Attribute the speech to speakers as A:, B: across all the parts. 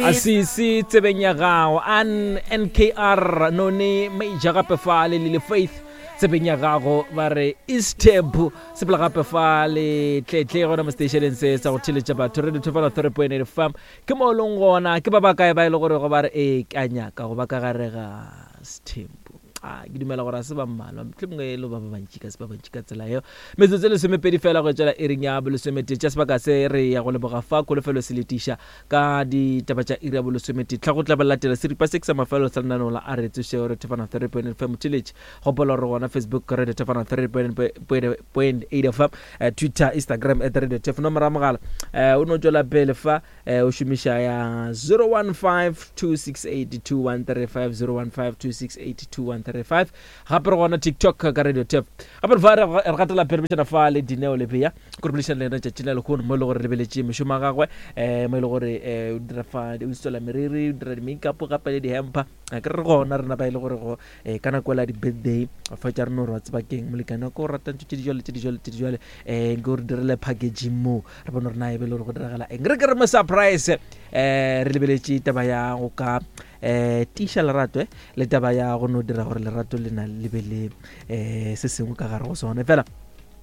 A: Asisi tsebeng ya gago an nkr none major gape fa le lile faith tsebeng ya gago ba re isteb sepela gape fa le tletle gona mo stationeng se sa go theletša batho radio thofana 3.8 fm ke mo e leng gona ke ba ba kae ba e le gore go ba re ee ka nyaka go ba ka gare ga sethempo a ke dumela gore a se ba mmalwa mohlomongwe e le ba ba bantši ka se ba bantši ka tsela yeo metsotso e lesomepedi fela go tšwela iring ya bolesometee tša sebaka se re ya go leboga fa kholofelo se letiša ka ditaba tša iri ya bolesometee tlha go tla ba latela seripa se ke sa mafelelo sa lenaneo la a re tsošeo re thefana 3.5 motheletši gopola gore gona facebook radio thefana 3.8 fm eh, twitter instagram at radio tef nomoro ya mogala eh, o no tšwela pele fa eh, o šomiša ya 0152682135 0152682135 gape re gona tiktok ka radio tap gape re fa re gatela pele bešana fa le dineo lebeya ko re bolešana le yena tšatši la lehono mo e le gore lebeletše mešomo ya gagwe um mo e le gore um o dira fa o installa meriri o dira di-makeup gape le di-hamper a ke re gona rena ba e le gore go um ka nako ela di-birthday fa tša rena gore wa tseba keng molekane wa ko o ratang tše dijalo tše dijalo tše dijale um nke o re direle packaging moo re bone gore na e be le gore go diragala eng re ke re mo surprise um re lebeletše taba ya go ka um tiiša lerato eh, le taba ya go no dira gore lerato le na le be le um se sengwe ka gare go sone fela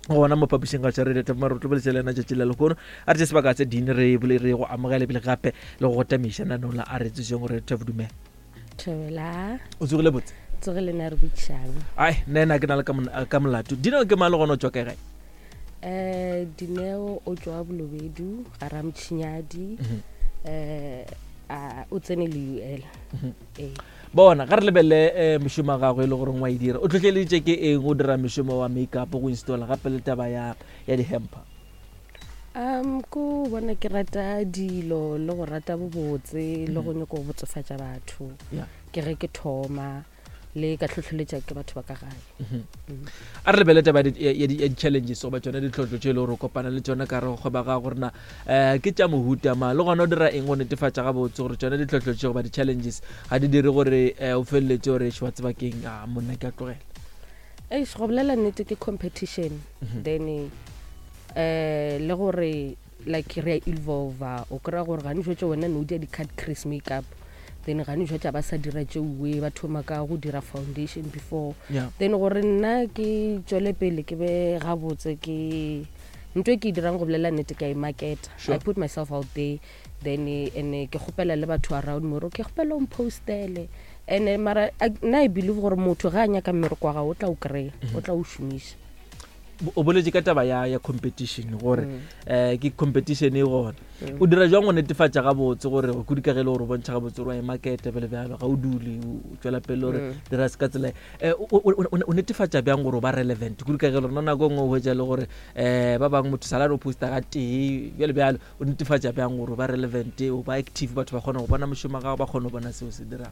A: gona mo phapošing ga tša radio tap mare tlo boletše le yena tšatši la lehono a re tše sebaka tse dine re bole re go amogele pele gape le go go tamiša nanong la a re tsošeng gore tap dumela
B: Thobela.
A: O tsogile botse?
B: Tsogile na re botšang.
A: Ai, nna ena ke na le ka molato. Dineo ke mang le gona o tšwa kae gae?
B: Eh, Dineo o tšwa Bolobedu, ga Ramtšhinyadi. Mm -hmm. Eh, a o tsene le UL. Mm
A: -hmm. Eh. Bona, ga re lebelele eh, mešomo ya gagwe e le gore wa e dira. O tlhotlheleditše ke eng go dira mešomo wa makeup go installa gape le taba ya ya di-hamper?
B: Um ko bona ke rata dilo le go rata bobotse le go nyako go botsofatša batho ke ge ke thoma le ka hlohleletša ke batho ba ka gae
A: mhm. mm. a re lebele taba ya di-challenges goba tsone ditlhohlo tše e le gore o kopana le tsone ka re go kgweba ga gorena um ke tša mohuta ma le gona o dira eng go netefatša gabotse gore tsone ditlhohlo tše goba di-challenges ga di dire gore um o feleletse gore wa tseba keng a monna ke a tlogela
B: Eish, go bolela nnete ke competition mhm. then eh le gore like re a evolva o kry-a gore gane jwetse wena ne o dia di-cut crease makeup then gane jwetse ba sa dira tšeuwe ba thoma ka go dira foundation before yeah. then gore nna ke tswele pele ke be gabotse ke ntho e ke e dirang go bolela nnete ka e marketa sure. i put myself out there then and ke kgopela le batho around me gore ke kgopela o mpostele and mara nna i believe gore motho ga a nyaka mmereko wa gago o tla o kry-a o tla o šomiša
A: o boletse ka taba ya ya competition gore mm. eh ke competition e gona mm. o dira jwang go netefatša gabotse gore kudu ka ge le gore o bontšha gabotse gore wa e markete bjale bjalo ga o dule o tšwela pele gore mm. dira se ka tsela eh, o netefatša bjang gore o ba relevant kudu ka ge le rona nako e nngwe o hwetša le gore um ba bangwe motho salane o posta ga tee bjale bjalo O netefatša bjang gore o ba relevant, o ba active, batho ba kgona go bona mošomo wa gago, ba kgona go bona seo se dirago?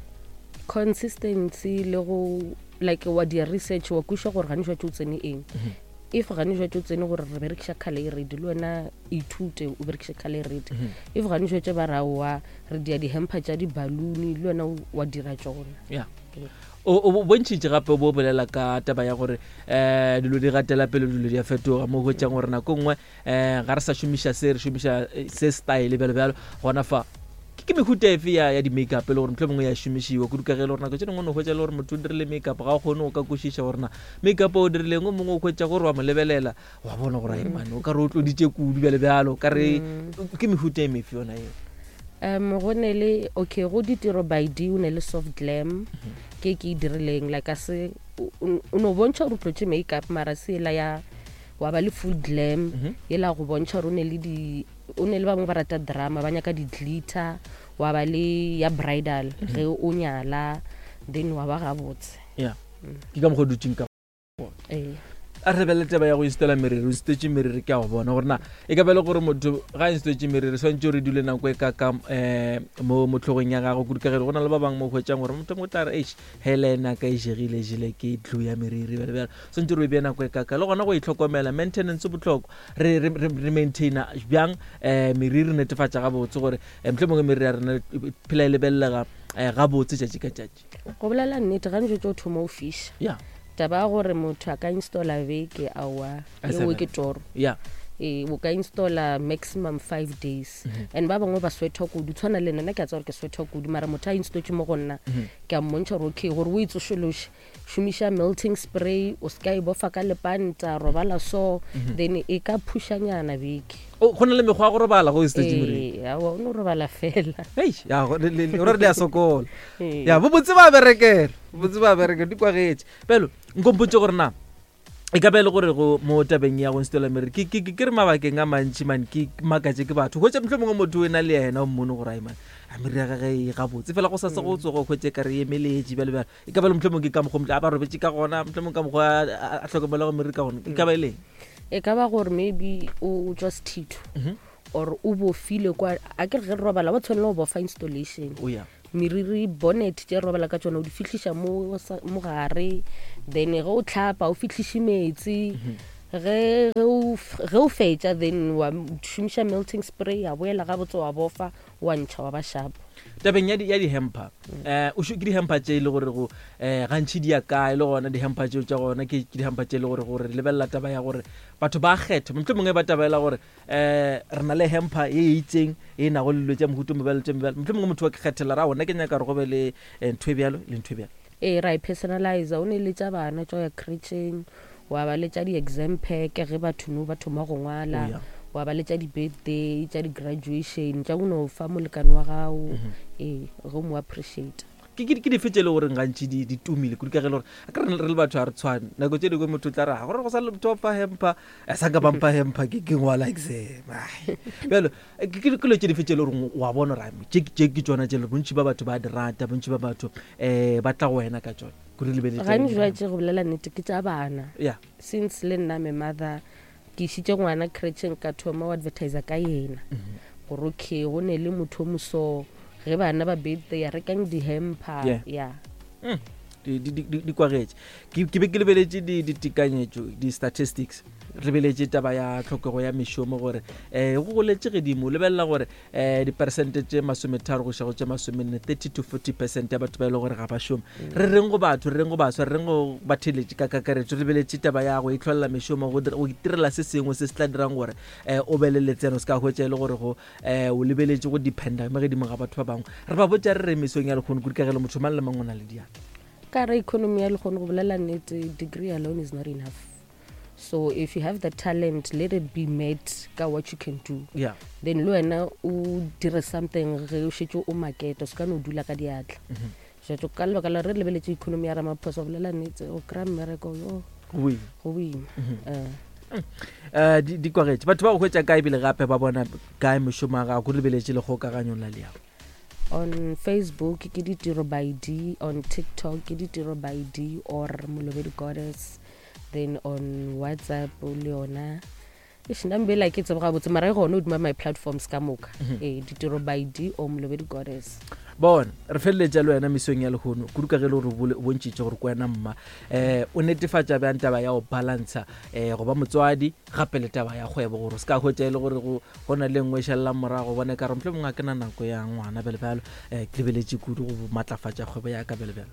B: Consistency le go like wa dia research wa kweša gore gane jwatše o tsene eng mhm. if gane jwatše o tsene gore re berekiša color e red le wena ithute o berekiše color e red mhm. if gane jwatše ba ra wa re dia di-hamper tša di-balloon le wena wa dira tšona
A: yeah. o bontšhitše gape o bo bolela ka taba ya gore um dilo di gatela pele dilo di a fetoga mo hwetšang gore nako nngwe um ga re sa šomiša se re šomiša eh, se style bjalo bjalo gona fa ke mehuta efe ya ya di-makeup e le gore motlho mongwe ya šomišiwa kudu ka ge e le gore nako tse dingwe o no hwetša e le gore motho o dirile makeup ga o kgone go ka kwešiša gore na makeup o dirileng o mongwe o hwetša gore wa mo lebelela wa bona gore ae mane o ka re o tloditše kudu bjalo bjalo ka re mm. ke mehuta e mefe yona eo
B: um go ne le okay go ditiro by d o ne le soft glam mhm. ke ke e dirileng like a se o no bontšha gore o tlotše makeup mara se ela ya wa ba le full glam mm -hmm. yela go bontšha gore o ne le di o ne le bangwe ba rata drama ba nyaka di-glitter wa ba le ya bridal mm -hmm. ge o nyala then wa ba gabotse
A: yeah. mm. ke ka mokgwa dutseng ka ee a re lebelele taba ya go installa meriri o instaletse meriri ke a go bona gore na e ka ba le gore motho ga a instaletse meriri swantse gore dule nako e ka ka um mo motlhogong ya gago kudu ka ge go na le ba bangwe mo hwetsang gore motho mongwe tla re eish hele ena ka e jegile jele ke tlu ya meriri bjale bjale swantse re e bea nako e kaka le gona go itlhokomela maintenance botlhokwa re, re, re, re maintaina bjang um meriri re netefatša gabotse gore um mohlomongwe mongwe meriri ya rena e phela e lebelelega um gabotse tšatši ka tšatši
B: go bolela nnete ga ntšo tšo thoma o fiša
A: ya
B: taba ya gore motho a ka installa beke aowa
A: A sa
B: eo
A: bana.
B: ke toro
A: ya
B: Ee, o ka installa maximum 5 days. And ba bangwe ba sweatha kudu, tshwana le nna, nna ke a tseba gore ke sweatha kudu, mara motho a installetse mo go nna, ke a mmontšha gore okay, gore o e tsošološe, šomiša melting spray, o se ka e bofa ka lepanta, robala so, then e ka phušanyana beke.
A: O, go na le mekgwa ya go robala go installetse moriri?
B: Ee, aowa, o no robala fela.
A: Hei, ya, go- le- le- le- gore le a sokola.
B: Ee.
A: Ya, bobotse ba berekela, bobotse ba berekela, di kwagetše. Bjalo, nkompotše gore na e ka ba e le gore go mo tabeng ya go installa meriri, ke, ke, ke, ke re mabakeng a mantši man ke makatše ke batho hwetša mohlomongwe mongwe motho o ena le yena o mmone gore ai man a meriri ya gage e gabotse fela go sa se go tsogo hwetše ka re e emeletše bjalo bjalo e ka ba le mohlomongwe ke ka mokgwa a ba robetše ka gona mohlomongwe ka mokgwa a hlokomela go meriri ka gona e ka ba e leng
B: e ka ba gore maybe o tswa sethitho or o bofile kwa a ke re ge re robala wa tshwanela go bofa installation.
A: O ya.
B: Meriri bonnet tše robala ka tšona o di fihliša mo mo gare, then ge o tlhapa o fihliše metsi, ge ge o ge o fetša then wa šomiša melting spray ya boela gabotse wa bofa wa ntšha wa ba sharp.
A: Tabeng ya di ya di-hamper, eh o ke di-hamper tše e le gore go eh gantši di ya kae, le gona di-hamper tšeo tša gona ke ke di-hamper tše e le gore gore lebelela taba ya gore batho ba kgetha mohlomongwe ba tabela gore um re na le hamper ye e itseng e nago le dilo tša mohuta mobjalo tše mebjalo, mohlomongwe motho wa ke kgethela ra gona ke nyaka gore go be le eh, ntho e bjalo le ntho e bjalo.
B: Ee, ra e personalizer, o ne le tša bana tša go ya creche-eng, wa ba le tša di-exam pack ge batho no ba thoma go ngwala,
A: Oh, yeah.
B: wa ba le tša di-birthday, tša di-graduation, tša go no fa molekane wa gago, ee, ge o mo appreciate.
A: Ke, ke, ke dife tše e le goreng gantši di, di tumile kudu ka ge e le gore a ke re re le batho ga re tshwane nako tše dingwe motho o tla re "Ah, gore go sa le motho wa mpha hamper a sa ka ba mpha hamper ke ke ngwala exam Ai. bjalo eh, ke ke- ke dilo tše dife tše e le goreng wa bona gore ai, tše tše ke tšona tše e le gore bontši ba batho ba di rata bontši ba batho um ba tla go wena ka tšona kudu lebeletše
B: Gantši jwa tše go bolela nnete ke tša bana.
A: ya
B: Since le nna I'm a mother, ke išitše ngwana creche-eng ka thoma go advertisa ka yena gore okay go ne le motho o moso ge bana ba birthday rekang di-hamper.
A: Yeah.
B: Ya.
A: Di, di, di, di kwagetše ke ke be ke lebeletše di ditekanyetšo di-statistics re lebeletše taba ya tlhokego ya mešomo gore um go goletše gedimo lebelela gore um diperesente tše 30 go iša go tše 40, 30 to 40 percent ya batho ba e le gore ga ba šome. Re reng go batho, re reng go baswa, re reng go batheeletši ka kakaretšo? Re lebeletše taba ya go itlholela mešomo, go dira, go itirela se sengwe se se tla dirang gore um o be le letseno, se ka hwetša e le gore go um o lebeletše go dependa mo gedimo ga batho ba bangwe. Re ba botša re re mesong ya lekgono kudu ka ge le motho mang le mang o na le diatla.
B: Ka re economy ya lekgono go bolela nnete, degree alone is not enough. So if you have the talent, let it be met ka what you can do.
A: Yeah.
B: Then le wena o dire something ge o šetše o market, o se ka no dula ka diatla. Jwatso ka lebaka la re lebeletše economy ya Ramaphosa, go bolela nnete, o kry-a mmereko yo
A: Go boima.
B: Go boima.
A: Eh, di kwagetše batho ba go hwetša kae ebile gape ba bona kae mešomo ya gago go lebeletše le kgokaganyong la leago?
B: On Facebook ke Ditiro by D, on TikTok ke Ditiro by D or Molobedi Goddess, then on WhatsApp le yona. Eish, nna mbela ke tsebo gabotse mara e gona hodima my platforms ka moka. Ee, Ditiro by D or Molobedi Goddess.
A: Bona re feleletša le wena mesong ya lehono kudu ka ge e le gore o bontšhitše gore ke wena mma, um o netefatša bjang taba ya go balantsha um go ba motswadi gape le taba ya kgwebo gore o se ka hwetša e le gore go go na le nngwe e šalelang morago, bone ka re mohlomongwe ga ke na nako ya ngwana bjalo bjalo, um ke lebeletše kudu go matlafatša kgwebo ya ka bjalo bjalo.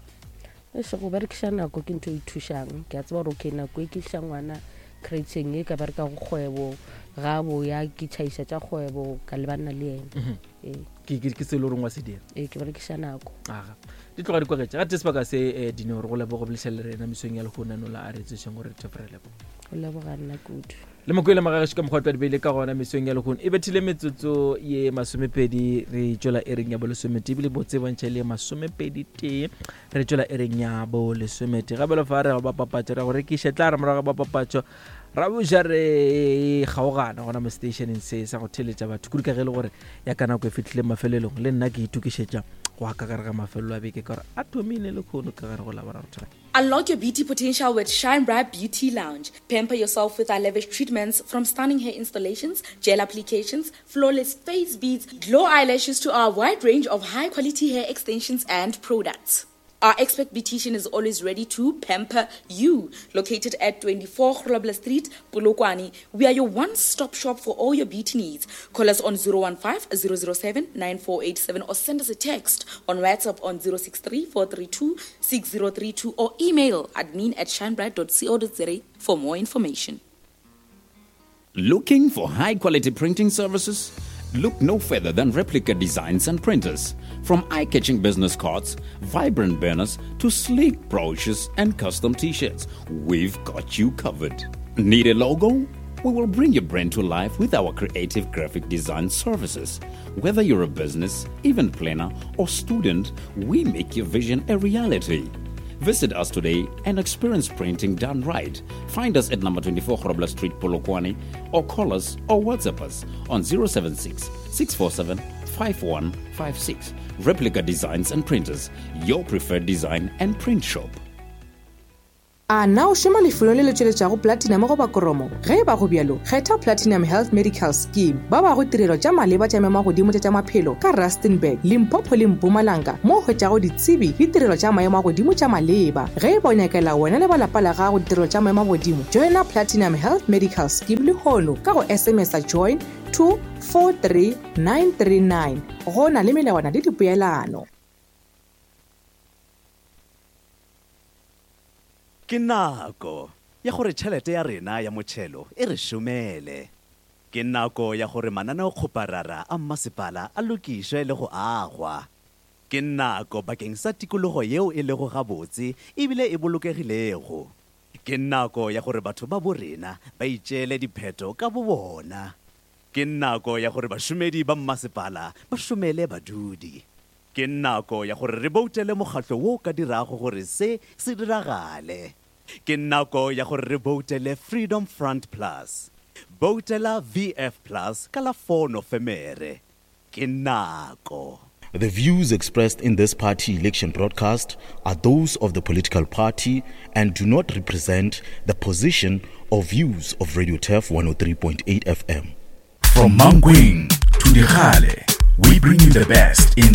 B: Eish, go berekiša nako ke ntho e thušang. Ke a tseba gore okay nako e ke iša ngwana creche-eng e ka bereka go kgwebo, ga boya ke tšhaiša tša kgwebo ka lebana le yena. Ee.
A: Ke, ke, ke se e le goreng wa se dira.
B: Ee, ke berekiša nako.
A: Aga, di tloga di kwagetše ga te sebaka se eh, Dineo, re go leboga go bolediša le rena mesong ya lehono nola a re tsošeng gore re thefo re leboga.
B: Go leboga nna kudu.
A: Le mokwele magagešo ka mokgwa twa di beile ka gona mesong ya lehono e bethile metsotso ye 20 re tšwela ereng ya bolesometee ebile botse bontšha le ye 21 re tšwela ereng ya bolesometee gabelo fa re ga ba papatšo ra go rekiša tla re morago ga ba papatšo ra boša re kgaogana gona mo stationeng se sa go theletša batho kudu ka ge e le gore ya ka nako e fihlile mafelelong le nna ke itokišetša go ya ka gare ga mafelelo a beke ka gore a thomile lekgono ka gare go laboraro thobela.
C: Unlock your beauty potential with Shine Bright Beauty Lounge. Pamper yourself with our lavish treatments, from stunning hair installations, gel applications, flawless face beads, glow eyelashes to our wide range of high-quality hair extensions and products. Our expert beautician is always ready to pamper you. Located at 24 Grobler Street, Polokwane, we are your one-stop shop for all your beauty needs. Call us on 015-007-9487 or send us a text on WhatsApp on 063-432-6032 or email admin at shinebright.co.za for more information.
D: Looking for high quality printing services? Look no further than Replica Designs and Printers. From eye catching business cards, vibrant banners, to sleek brochures and custom t shirts, we've got you covered. Need a logo? We will bring your brand to life with our creative graphic design services. Whether you're a business, event planner, or student, we make your vision a reality. Visit us today and experience printing done right. Find us at number 24 Grobler Street, Polokwane, or call us or WhatsApp us on 076 647 5156. Replica Designs and Printers, your preferred design and print shop.
E: A na o šoma lefelong le le tšweletšago platinum goba koromo? Ge e ba go bjalo, kgetha Platinum Health Medical Scheme. Ba bago tirelo tša maleba tša maemo a godimo tša tša maphelo ka Rustenburg, Limpopo le Mpumalanga mo o hwetšago ditsebi le tirelo tša maemo a godimo tša maleba. Ge e ba o nyakela wena le ba lapa la gago ditirelo tša maemo a godimo, joina Platinum Health Medical Scheme lehono ka go SMS-a join to 43939. Go na le melawana le dipoelano.
F: Ke nako ya gore tšhelete ya rena ya motšhelo e re šomele. Ke nako ya gore mananeokgoparara a mmasepala a lokišwe le go agwa. Ke nako bakeng sa tikologo yeo e lego gabotse ebile e bolokegilego. Ke nako ya gore batho ba bo rena ba itšeele diphetho ka bobona. Ke nako ya gore bašomedi ba mmasepala ba šomele badudi. Ke nako ya gore re boutele mokgatlo wo o ka dirago gore se se diragale. Ke nako ya gore re boutele Freedom Front Plus. Boutela VF Plus ka la 4 Nofemere. Ke nako.
G: The views expressed in this party election broadcast are those of the political party and do not represent the position or views of Radio Turf 103.8 FM.
H: From Mankweng to Dikgale, we bring you the best in.